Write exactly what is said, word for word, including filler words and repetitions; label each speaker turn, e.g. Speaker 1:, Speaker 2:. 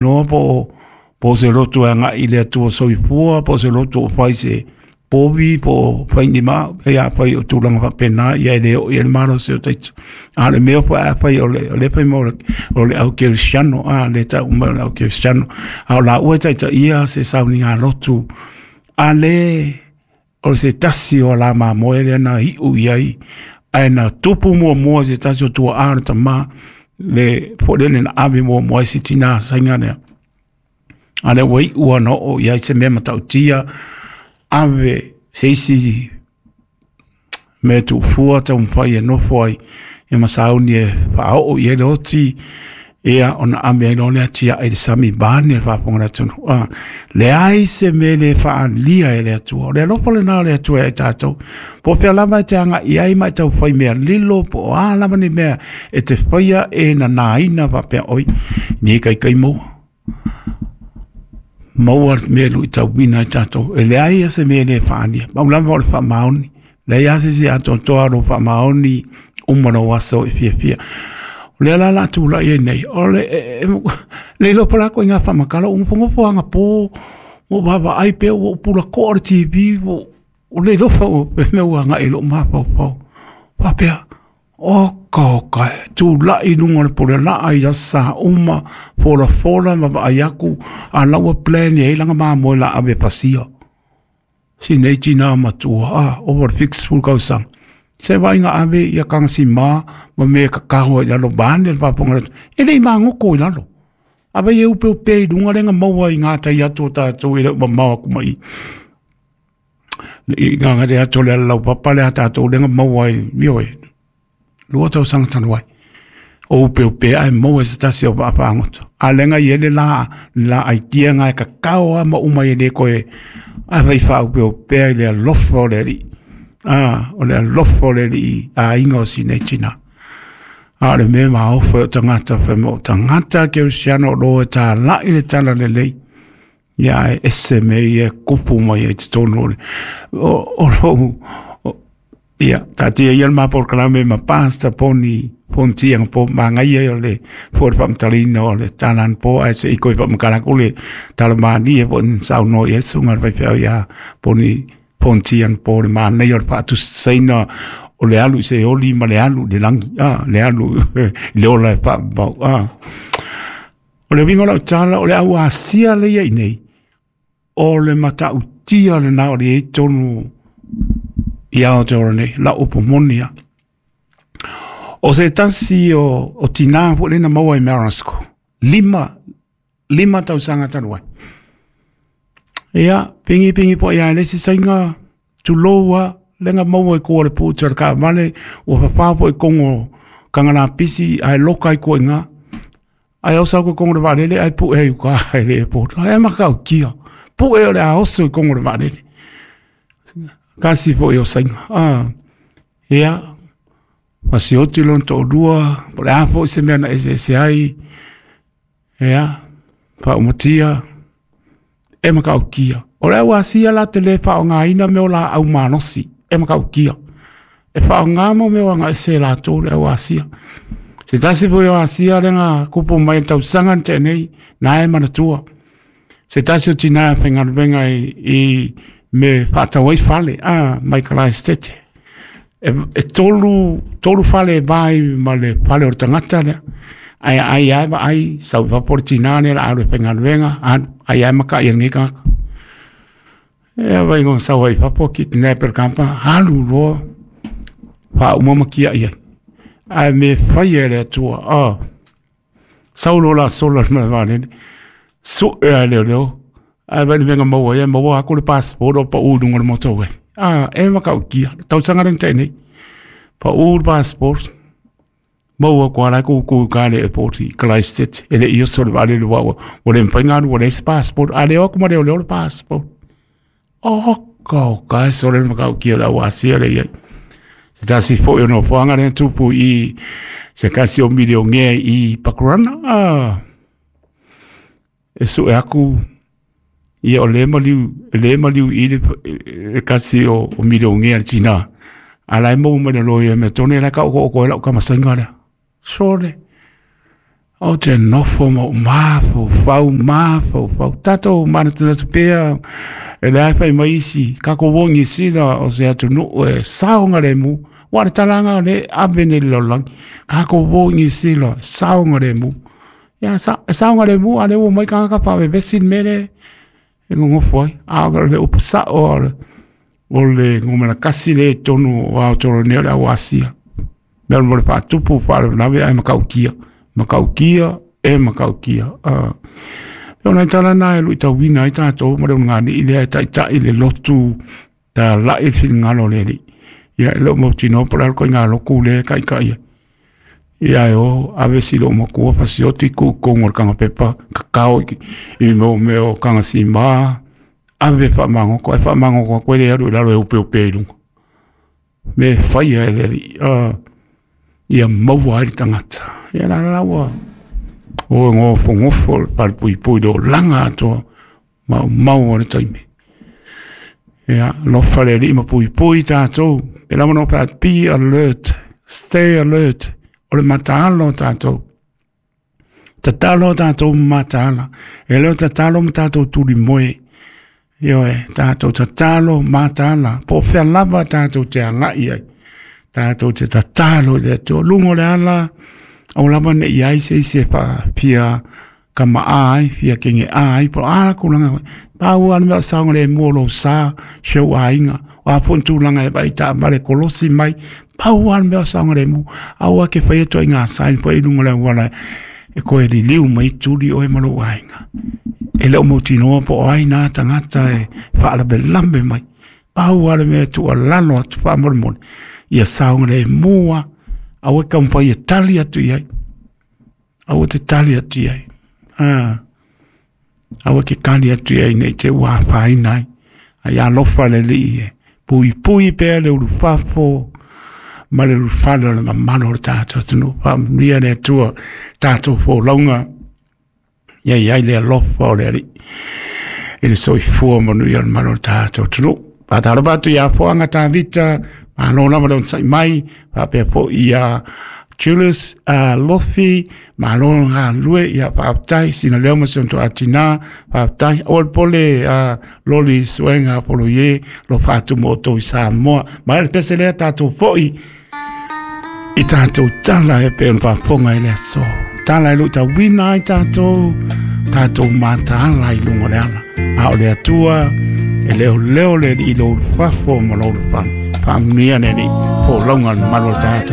Speaker 1: Noa po po se lotu e agai i le Atua soifua, po o se lotu o fai se povi, po o fai ni ma, e a fai o tulaga faapena, ia e le oo i ai le malosi o taito. A o le mea foi a fai o le, o le fai mai o le, o le au kerisiano, a le tau mai o le au kerisiano, a o laua e taitaia se sauniga lotu, a le o se tasi o ala mamoe lea na iu i ai, ae na tupu muamua se tasi o tuaa o le tama, le foi lele na ave muamua ai si tinā saiga lea. A lea ua iu lava na oo i ai se mea matautia, ave se isi mea tuufua taumafai e nofo ai ia ma sauni e faaoo i ai le oti, ia ona ave ai loa lea tiai i le sami vaeane le faafofoga a le atunuu. A leai se mea e le faaalia e le Atua. O le alofa lena o le Atua ia i tatou. Po o fea lava e te agai i ai ma e taufai mea lilo, po o a lava ni mea e te faia e nanaina faapea, oi, nei kaikai maua. Maua le mea e luitauina ai tatou. E leai lava se mea e le faaalia. Pau lava o le faamaoni. Leai lava se isi atoatoa o lou faamaoni uma lou aso e fiafia. O lea la o le a tulai ai nei, o le le iloa po o le a ituaiga faamatala, ua nofonofo agapō, ua ou vaavaai pea ua ou pulakoa le T V, ua le iloa pe mea ua agai i lou mafaufau. Faapea, oka oka e, tulai i luga o le pulelaa i aso sa uma, folafola ma vaai atu, a o la ua plan i ai lana mamoe o le a ave e pasia. Si nei tinā matua, a, ova i le whitusefulu tausaga. Se vaaiga ave ia tagasima ma mea e kakao ai i lalo vaeane le faafofoga a le atunuu. E le i magoto i lalo. Ave ia upeupe i luga lea na maua i gatai atu o tatou e le o mamao atu mai i. I gatai atu o le alalaupapa lea a tatou lea na maua ai, ioe, lua tausaga talu ai. O upeupe ae maua e se tasi o vaafagota. A lea na i ai le la, la idea na e kakao lava ma uma ai e le toe ave i faaupeupea i le alofa o le Alii. Ah, o le alofa o le Alii aiga o si nei tinā. A o le mea maofa o tagata fai mai o tagata kerisiano o lo e tālai le talalelei. Ia ae ese mea ia e kupu mai ai i totonu o le o, o lou ia, taatia ia le ma polokalame ma Pastor Poni Pontia na po magaia o le fua o le faamatalaina o le tala anapo ae se i koe faamatala atu le tala malie po o ni saunoa i ai le susuga i le faifeau ia Poni Pontia anapo le manaia o le faatusaina o le alu i se oli ma le alu i le lagi, a, le alu i le ola e faavavau, a. O le uiga o lau tala, o le au Asia lea i ai nei, o le matautia lena o le i ai tonu i Aotearoa nei, lau upu moni lava. O se tasi o, o tinā foi lea na maua i Marasco, lima, lima tausaga talu ai. Ia, pingi pingi po ia le isi saiga, tulou lava, lea na maua i kua o le puta o le taavale, ua fafā foi i kogo o Kagalapisi ae loka ai kua i ina. Ae oso atu i kogo o le vaalele ae pue ai i uka i le airport. Ae matautia, pue o le a oso i kogo o le vaalele. Kasi foi o saiga. Ah, ia, fasioti lona toalua, po o le a foi se mea na eseese ai, ia, faaumatia, e matautia. O le au Asia la te le faaaogaina mea o laau malosi, e matautia. E faaaoga mo mea o agaese e latou le au Asia. Se tasi foi o Asia lea na kupu mai i le tausaga na tea nei, na e manatua. Se tasi o tinā e faigaluega i, i me faatau ai fale, a, mai Kalaesetete. E, e tolu, tolu fale e va ai ma le fale o le tagata lea. Ae ai ai vaai, sau i fafo le tinā lea o le a alu e faigaluega, alu, ai ai makai e lenei tagata. E vai ngona sau ai i fafo, kidnap e le kampa, alu loa, faauma ma tiai ai. Ae me faia e le Atua, ah, sau loa la sola le malae vaalele, sue lava e leoleo, ae vaai i le mea na maua ai, maua atu le passport o pau i luga o le motorway. Ah, e matautia, le tausaga lea na tea nei, pau le passport, maua atu lava la e tutu i uta i le airport i Christchurch, e le i oso le vaalele ua ua le mafai ona alu ua leai se passport, a le o atu ma leoleo le passport. Oka oka e sole le matautia o le au Asia lea i ai. Se tasi foi o nofoaga lea na tupu i se tasi o milionea i Pakurana, ah, e sue atu ia o le maliu, e le maliu i le, le kasi o, o milionea le tinā. A la e maua mai le loia mea tonu e la e taoto'oto ai lau tamasaiga lea. Sole. Ou te nofo ma ou mafaufau, mafaufau. Tatou manatunatu pea e le ai fai mai isi, kako o Niu Sila o se atunuu e saogalemu, ua le talaga le ave nei le lalolagi. Kako o Niu Sila, saogalemu. Ia, sa, saogalemu, a le ua mai tagata faavevesi le mea lea e gogofo ai. A o le upu sao o le, o le gomena kasi le tonu o Aotearoa nei o le au Asia. Mea mo le faatupu faalavelave ae makaukia. Makaukia e makaukia. Uh, o nai tala na e luitauina ai tatou ma le onogani'i lea e taʻitaʻi le lotu talaʻi le finagalo o le Alii. Ia e le o mautinoa po o le a le koiga lotu lea e kaʻikaʻi ai. Ia e o ave si lou matua fasioti kuʻukugu o le kagapepa kakao i, i mo mea o kagasima ave faamagoto ae faamagoto atu ai le alu i lalo e upeupe i luga. Me faia e le Alii uh, ia maua ai le tagata. Ia la la ua o gofogofo le falepuipui le olaga atoa maumau o le taimi. Ia lofa le Alii ma puipui tatou. E lava no pa be alert, stay alert. O le mataala o tatou. Tatalo o tatou ma mataala. E le o tatalo ma tatou tuli moe. Ioe, tatou tatalo mataala. Po o fea lava tatou te agai ai. Tatou te tatalo i le Atua. Luga o le ala, au lava ne i ai se isi e fia kama'a ai, fia kege'a ai, po o a tulaga. Pau lava le mea o le saogalemu o lou sa, si ou aiga. O a foi ni tulaga e vaai taavale kolosi mai, pau lava le mea o le saogalemu. Aua e te faia ituaiga sign foi i luga o le auala e toe liliu mai tuli oe ma lou aiga. E le o mautinoa po o ai nā tagata e faalavelave mai. Pau lava le mea e tuualalo atu faamolemole, ia saogalemu lava. Aua e taumafai e tali atu i ai. Aua te tali atu i ai. Ah. Aua ke tali atu i ai nei te ua afaina ai. Ai alofa le Alii e puipui pea le ulufafo ma le ulufale o le mamalu o le tatou atunuu. Faamanuia le Atua tatou folauga. Ia i ai le alofa o le Alii i le soifua manuia o le mamalu o le tatou atunuu. Faatalofa atu ia Foaga Tavita, malo lava le onosai mai, faapea foi ia Julius uh, Lofi, malo galulue, ia faafetai, sina leo ma si ona toatina, faafetai. Aua le pole uh, loli suega polo ie, lo faatumu o outou i Samoa. Ma le pese lea tatou foi i tatou tala e pei ona faafofoga i le aso. Tala e luitauina ai tatou, tatou mataala i luga o le ala. A o le Atua, e leoleo le Alii i lou ulufafo ma lou ulufale. Faamanuia le Alii, folauga le mamalu o le tatou.